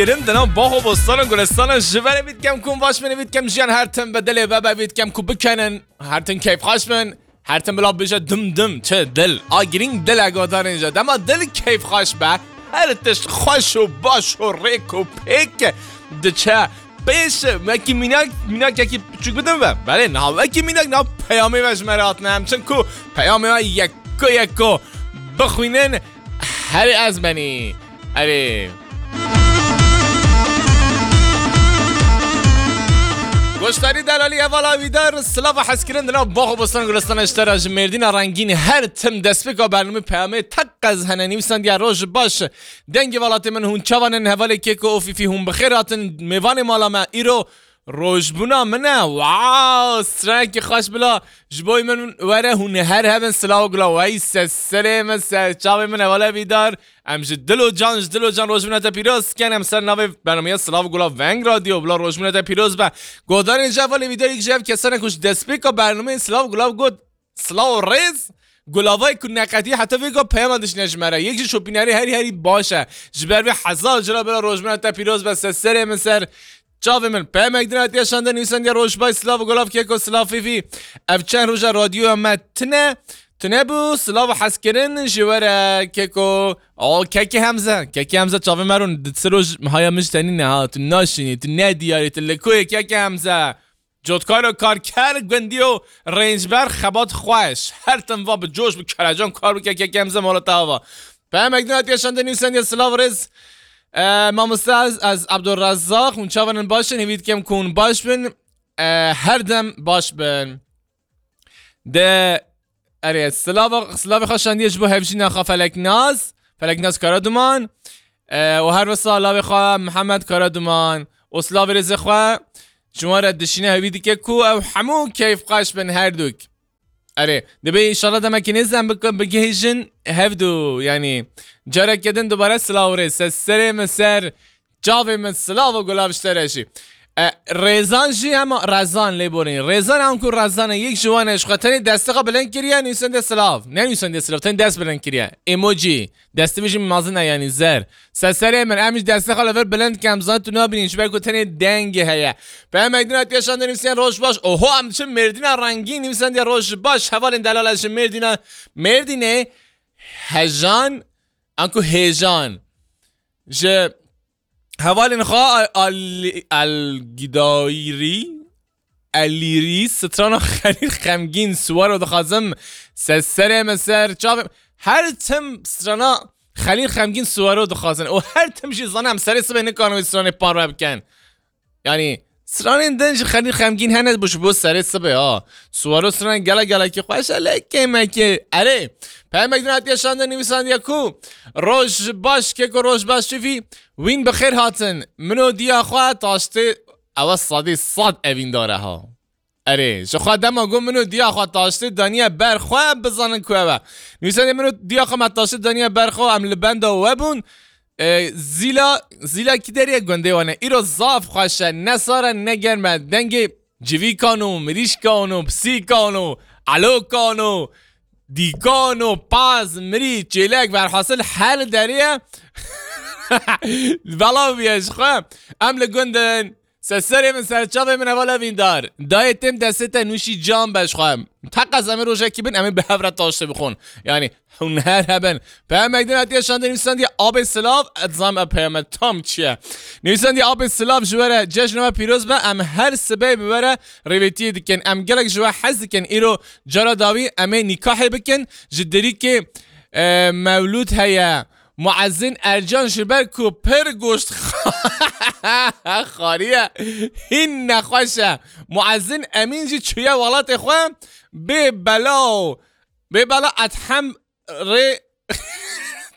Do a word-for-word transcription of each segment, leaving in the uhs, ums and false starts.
Kirin di nav bax û bostanan, gulestanan ji verê vî dikem ku baş bin, vî dikem jiyan her tim bi dilê ve be, vî dikem ku bikenin, her tim keyfxweş bin, her tim bila bêje dim dim, çi dil, a girîng dil e godarên je. Dema dil keyfxweş be, her tişt xweş û baş û rêk û pêk diçe. Pêş, wekî mînak, mînak yekî piçûk bidin ve. Belê, niha wekî mînak, niha peyamê ve ji me re hatine em. Çinku peyamê ve yeko yeko bixwînin, herê ez benî. Erê. Goşdarî, delalî, hevala wîdar, silav û hezkirin di nav bax û bostan gulistana ji te re, ji Mêrdîna rengîn, her tim destpêka bernamê peyamê teqez hene nivîsandiye: Roj baş, dengê welatê min, hûn çavan in? Hevalê Keko û Fîfî, hûn bi xêr hatin mêvanê mala me. Îro rojbûna min e. Wow, stranekî xweş bila ji bo min were, hûn her hebin, silav û gula. Wey se serê min, ser çavê min, hevala wîdar. Em ji dil û can, ji dil û can rojbûna te pîroz dikin. Em ser navê bernameya Silav û Gulav Veng Radyo, bila rojbûna te pîroz be. Godarên ji hevalê wîdar, yek ji ev kesane ku ji destpêka bernameyê Silav û Gulav got, silav û rêz, gulavayê ku neqetî heta vê got peyama dişîne ji me re. Yek jî şopînerê herî herî baş e. Ji ber vê hezar cara bila rojbûna te pîroz be, ser serê min, ser çavê min. Peyamek din hatiye şandin, nivîsandiye: Roj baş, silav û gulav Keko, silav Fîfî. Ev çend roja radyoya me tune, tune bû, silav û hezkirin ji we re Keko. O Kekê Hemze, Kekê Hemze çavê me rûn, di çi roj haya min ji te nîne ha, tu naşînî, tu ne diyarî, tu li ku yî Kekê Hemze? Cotkar û karker, gundî û rêncber, xebat xweş. Her tim va bi coş, bi kerecan kar bike, Kekê Hemze mala te ava. Peyamek din hatiye şandin, nivîsandiye: Silav rêz, e, mamoste, ez, ez Abdurrezzaq, hûn çavan in, baş in? Hêvî dikim ku hûn baş bin. E, her dem baş bin. De, erê, silava, silavê xwe şandiye ji bo hevjîna xwe Feleknaz, Feleknaz Karaduman, e, û her wisa lavê xwe Mihemed Karaduman û silavê rêzê xwe ji wan re dişîne, hêvî dike ku ew hemû keyfxweş bin her dûk. Erê, dibê înşallah demekî nêz em bik-, bigihîjin hevdû, yanî careke din dubare silav û rêz. Ser serê min, ser çavê min, silav û gulav ji te re jî. E, Rêzan jî hema Rezan lê borî. Rêzan, anku Rezan e, yek ji wan e, ji xwe tenê destê xwe bilind kiriye, nivîsandiye silav. Ne nivîsandiye silav, tenê dest bilind kiriye. Emoji. Destê wî jî mezin e, yanî zer. Ser serê min, em jî destê xwe li vir bilind dikin, em zanin tu nabînî, ji ber ku tenê dengê heye. Peyamek din hatiye şandin, nivîsandiye: Roj baş. Oho, em diçin Mêrdîna rengîn, nivîsandiye: Roj baş, hevalên delal, ez ji Mêrdîna, Mêrdînê hejan, anku hêjan. Ji hevalên xwe Al-, Al-, Algidayirî, Elîrî, strana Xelîl Xemgîn Suwaro dixwazim. Ser serê min, ser çavê, her tim strana Xelîl Xemgîn Suwaro dixwazin. Û her tim jî zanim serê sibê nikarin wê stranê parve bikin. Yanî, stranên din ji Xelîl Xemgîn hene, ji bo serê sibê, ha. Suwaro stranên gele gelekî xweş e, lê kêmekê. Erê, peyamek din hatiye şandin, nivîsandiye ku: Roj baş Keko, roj baş Fîfî, wîn bi xêr hatin. Min û diya xwe taştê, ew e sedî sed evîndar e, ha. Erê, ji xwe dema got min û diya xwe taştê daniye ber xwe, bizanin ku ew e. Nivîsandiye: Min û diya xwe me taştê daniye ber xwe, em li benda we bûn. E, zîla, zîla kî derê ye? Gundê wan e. Îro zaf xweş e, ne sar e, ne germ e. Dengê civîkan û mirîşkan û pisîkan û elokan û dîkan û paz, mirî, çêlek, verhasil her derê ye. Belav bûye ji xwe. Em li gund in. Ser serê min, ser çavê min, heval evîndar. Dayê têm destê te nûşî can be ji xwe. Teqez em ê rojekî bin, em ê bi hev re taştê bixwin. Yanî, hûn her hebin. Peyamek din hatiye şandin, nivîsandiye: Abê silav, ez zanim ev peyame tam çi ye. Nivîsandiye: Abê silav, ji we re cejna we pîroz be, em her sibê bi we re rêvêtiyê dikin. Em gelek ji we hez dikin. Îro cara dawî em ê nîkahê bikin. Ji derîkê, e, mewlûd heye. Muezzin Ercan ji ber ku pir goşt xariye, hîn nexweş e. Muezzin Emîn jî çûye welatê xwe, bê bela û bê bela Edhem rê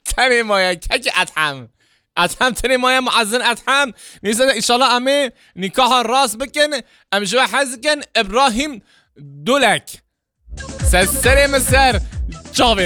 tenê maye. Kekê Edhem. Edhem tenê maye, Muezzin Edhem. Neyse de, înşallah em ê nîkaha rast bikin. Em ji we hez dikin. Îbrahîm Dulek. Ser serê min, ser çavê